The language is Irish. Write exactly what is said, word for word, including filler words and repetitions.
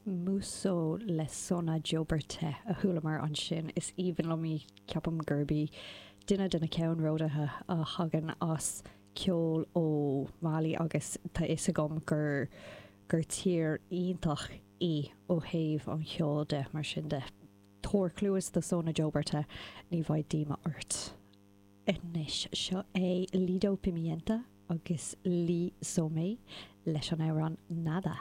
Muso le Sona Joberté a chualamar ansin is aoibhinn liom í ceapaim gurb í duine de na ceannródaithe a thagann as ceol ó Mali agus tá fhios agam gur gur tír iontach í ó thaobh an cheoil de mar sin de. Tabhair cluas do Sona Joberté ní bheidh díomá ort. Anois seo é Lido Pimienta agus Lee Somé leis an amhrán Nada.